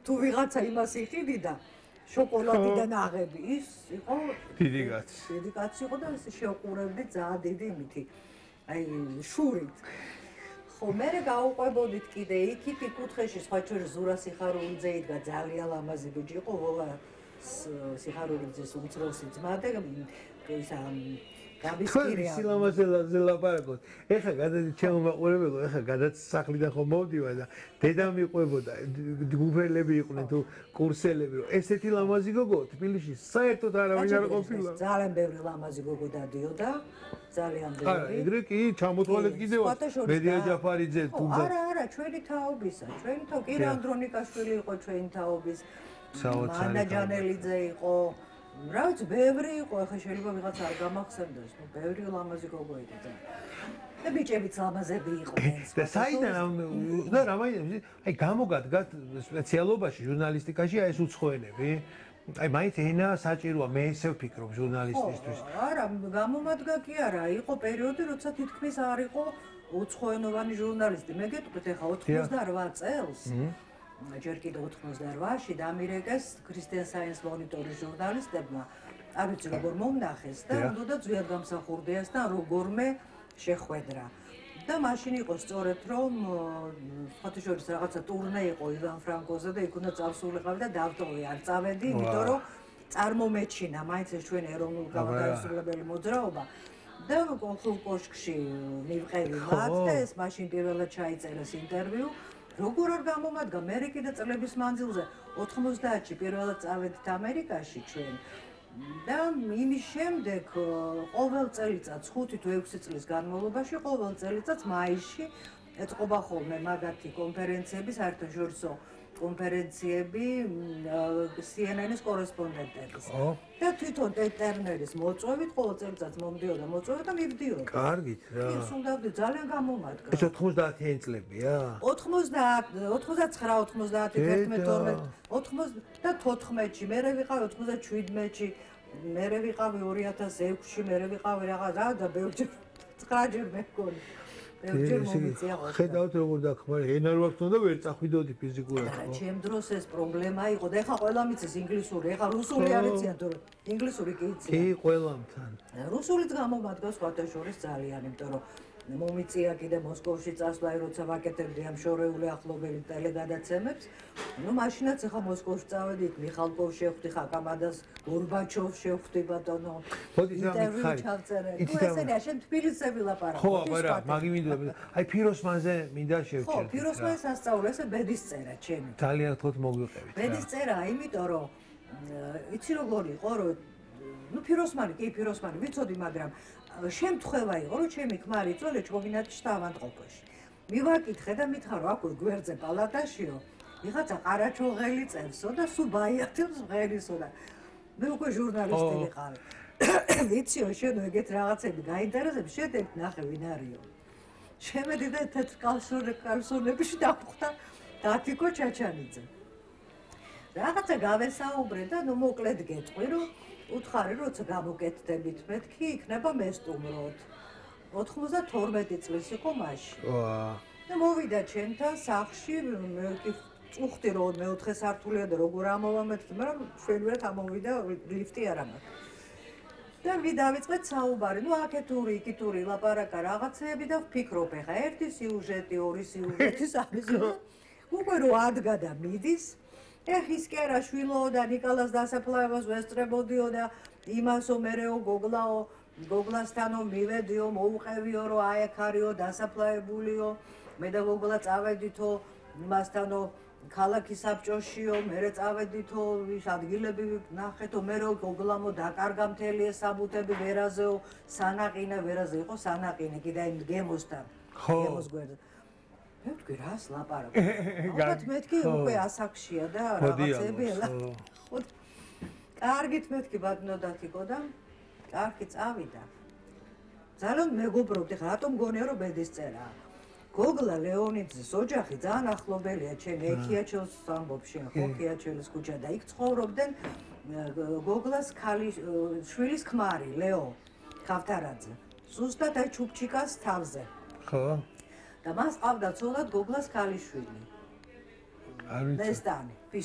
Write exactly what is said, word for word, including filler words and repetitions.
თუ ვიღაცა იმას იყიდიდა შოკოლადიდან აღები ის იყო დიდი კაცი. დიდი კაცი იყო და შეუყურებდი ძალიან დიდი იმითი აი შურით. ხო მე გავუყვებოდით კიდე იქით კუთხეში სხვა შორის ზურა სიხარულიძე იდგა ძალიან ლამაზი ბიჭი იყო ვოლა სიხარულიძის უმცროსი ძმა და ისა გაბისკირია სილამაზეზე ლაპარაკობთ. ეხლა გადადი ჩემო მაყურებელო, ეხლა გადაც სახლიდან ხომ მოვდივა და დედა მიყვებოდა, გუბერლები იყვნენ თუ კურსელები, რომ ესეთი ლამაზი გოგო თბილისში საერთოდ არავინ არ ყოფილა. ძალიან ბევრი ლამაზი გოგო დადიოდა, ძალიან ბევრი. არა, ეგრე კი ჩამოთვალეთ კიდევაც. მედია ჯაფარიძე თუმცა არა, არა, ჩვენი თაობისა, ჩვენი თაობ კი ანდრონიკაშვილი იყო ჩვენი თაობის. მანა ჯანელიძე იყო. რაც ბევრი იყო, ახლა შეიძლება ვიღაც არ გამახსენდეს, ნუ ბევრი ლამაზი გოგო იყო და და ბიჭებიც ლამაზები იყვნენ. და საიდან და რამაინდა, აი გამოგადგათ სპეციალობაში ჟურნალისტიკაში აი ეს უცხოენები. აი მაინც ენა საჭიროა, მე ესე ვფიქრობ ჟურნალისტისთვის. არა, გამომადგა კი არა, იყო პერიოდი, როცა თითქმის არ იყო უცხოენოვანი ჟურნალისტი. მე გეტყვით ახლა ოცდაოთხ წელს. ჯერ კიდევ ოცდაოთხში დამირეკეს ქრისტიან საინს მონიტორის ჟურნალისტებმა. არ ვიცი როგორ მომნახეს და უნდა ძვიად გამსახურდიას და როგორმე შეხვედრა. და მაშინ იყო სწორედ რომ სხვათა შორის რაღაცა ტურნე იყო ივან ფრანკოზე და იქ უნდა წავსულიყავი და დავტოვე არ წავედი, იმიტომ რომ წარმომეჩინა მაინც ეს ჩვენი ეროვნულ გამოგაისრულებელი მოძრაობა. და კონსულ კოშკში მივყევი მათ და ეს მაშინ პირველად ჩაიწერეს ინტერვიუ. როგორ არ გამომადგა მე კიდე წლების მანძილზე ოთხმოცდაათში პირველად წავედით ამერიკაში ჩვენ და იმის შემდეგ ყოველ წელიწადს ხუთი თუ ექვსი წლის განმავლობაში ყოველ წელიწადს მაისში ეწყობა ხოლმე მაგათი კონფერენციები საერთაშორისო კონფერენციები C N N-ის კორესპონდენტების და თვითონ ტერნერის მოწვევით ყოველ წელიწადს მომდიოდა მოწვევა და მივდიოდა. კარგით რა. ის უნდა ძალიან გამომადგა. ეს ოცდაათიანი წლებია? ოცდაათი, ოცდაცხრა, ოცდაათი, ათერთმეტი, თორმეტი, ოცდათოთხმეტში, მერე ვიყავი ოცდაჩვიდმეტში, მერე ვიყავი ორი ათას ექვსში, მერე ვიყავი რაღაცა და ბევრჯერ ცხრაჯერ მეგონი. ხედავთ როგორ დახმარი, ენა რო აქვს უნდა ვერ წახვიდოდი ფიზიკურად. არა, ჩემ დროს ეს პრობლემა იყო და ეხლა ყველა მიცის ინგლისური, ეხლა რუსული არ იციან თუ ინგლისური კი იციან. კი, ყველამთან. რუსულიც გამომადგა სხვათა შორის ძალიან, იმიტომ რომ მომიწია კიდე მოსკოვში წასვლა, როცა ვაკეთებდი ამ შორეული ახლობელი ტელეგადაცემებს. ნუ მაშინაც ეხლა მოსკოვში წავედი, მიხალკოვ შევხვდი, ხაკამადას, გორბაჩოვს შევხვდი ბატონო. მოდი სამი ჩავწერე. ნუ ესენია, შენ თბილისზე ვილაპარაკო. ხო, არა, მაგი მინდა. აი ფიროსმანზე მინდა შევჭერდეთ. ხო, ფიროსმანს ასწავლე, ესე ბედის წერა ჩემი. ძალიან თქოთ მოგვიყევით. ბედის წერა, იმიტომ რომ იცი როგორ იყო, რომ ნუ ფიროსმანი, კი ფიროსმანი, ვიცოდი, მაგრამ შემთხვევა იყო, რომ ჩემი ქმარი იწოლე ჩოგინათში ავადმყოფოში. მივაკითხე და მითხრა, რომ აქვე გვერდზე პალატაშიო, ვიღაცა ყარაჩოღელი წერსო და სულ ბაიათებს ღერისო და მე უკვე ჟურნალისტი ვიყავი. ვიციო, შენ ეგეთ რაღაცები გაინტერესებს, შედეგ ნახე ვინ არისო. შემედი და თეთრ კალსონებში დავხვდა დათიკო ჩაჩანიძე. რაღაცა გავესაუბრე და ნუ მოკლედ გეტყვი, რომ უთხარი, როცა გამოკეთდებით მეთქი, იქნება მესტუმროთ. ოცდათორმეტი წლის იყო მაშინ. და მოვიდა ჩემთან სახლში, მე კი წუხდი რომ მეოთხე სართულია და როგორ ამოვა მეთქი, მაგრამ ჩვენურად ამოვიდა ლიფტი არ ამაქვს. და დავიწყეთ საუბარი, ნუ აქეთური, იქითური ლაპარაკა რაღაცეები და ვფიქრობ, ეხა ერთი სიუჟეტი, ორი სიუჟეტი, სამი სიუჟეტი. უკვე რო ადგა და მიდის, ეხ ის კი არა შვილო და ნიკოლას დასაფლავებას ვესწრებოდიო და იმასო მერეო გოგლაო, გოგლასთანო მივედიო, მოუყევიო, რომ აი აქ არისო დასაფლავებულიო, მე და გოგლა წავედითო იმასთანო ქალაქის საბჭოშიო, მერე წავედითო, ის ადგილები ნახეთო, მერე გოგლამო დაკარგა მთელი ეს საბუთები ვერაზეო, სანაყინე, ვერაზე იყო სანაყინე, კიდე იმ გემოსთან, გემოს გვერდზე. მე ვთქვი, რას ლაპარაკობ? ალბათ მეთქი უკვე ასაკშია და რაღაცები ელა. ხო. კარგით მეთქი ბატონო დათიკო და კარგი წავიდა. ძალიან მეგობრობდი, ხა რატომ გონია რომ ბედის წერაა? გოგლა ლეონიძის ოჯახი ძალიან ახლობელია ჩემ ექიაჩელს ამბობში, ხო, ექიაჩელის ქუჩა და იქ ცხოვრობდნენ გოგლას ქალის შვილის ქმარი ლეო ქავთარაძე. ზუსტად აი ჩუქჩიკას თავზე. ხო. და მას ყავდა ცოლად გოგლას ქალიშვილი. არ ვიცი. ნესტანი.